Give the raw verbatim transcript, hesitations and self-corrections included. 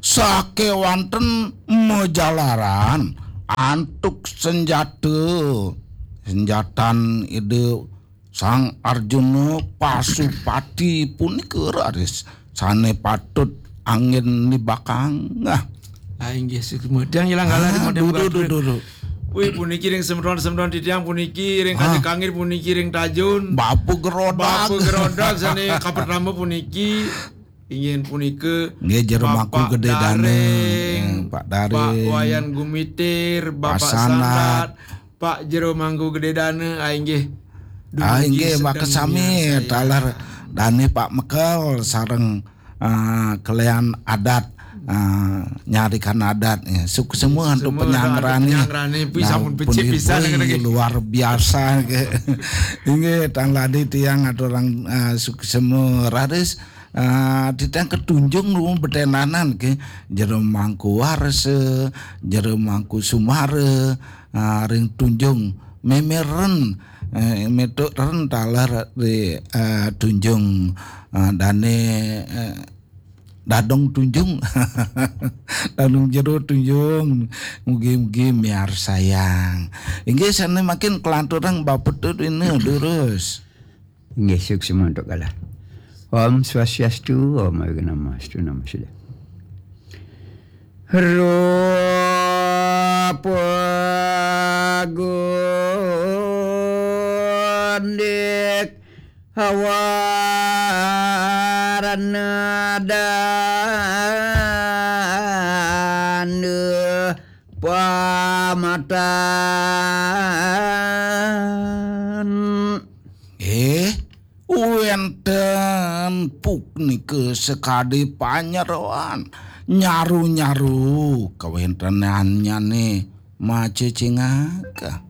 Sakéwanten majalaran antuk senjata, senjatan Ida Sang Arjuna Pasupati punika raris sané patut anggén nibakang. Nah, Ah, inggih, sumedang ilang kalah di model dudu, batur. Dudu. Wih, puniki ring semeton-semeton titiang puniki, ring Ah. Kangir puniki, ring Tajun. Bapa Gerodak. Bapa Gerodak sané kapertama puniki. Inggih punika Nggih, Jero Mangku Bapak Gedé Dana, Daring, eh, Pak Daring. Pak Wayan Gumitir, Bapak Pak Sandat. Sandat, Pak Jero Mangku Gedé Dana, ah, inggih. Ah, Dumugi inggih, sedeng makasami, miarsayang. Taler dané Pak Mekel sareng, ah, kalian adat, ah, nyarikan adat, ya. Suksema antuk penyangrané. Penyangrané, puji sampun becik Pundi pisan, pundi nggih. Luar biasa, nggih. Inggih, tan lali tiang aturang, ah, suksema raris, ah, titiang ketunjung nuwun betenanan, nggih. Jero Mangku Warsa, Jero Mangku Sumara, ah, ring Tunjung Memeren, eh, metuk ren taler di, eh, Tunjung, eh, dané, eh, Dadong Tunjung. Dadong Jero Tunjung. Mugi-mugi miarsayang. Inggih, sané makin kelanturang Bapak Tut ini durus. Inggih, suksma antuk kalah. Om Swastiastu, Om Awighnamastu, Namo Siddham. Rupa gundik hawarna danda pamatan. Eh, wénten punika sakadi panyeroan, nyaru-nyaru kawéntenannyané macecingaka.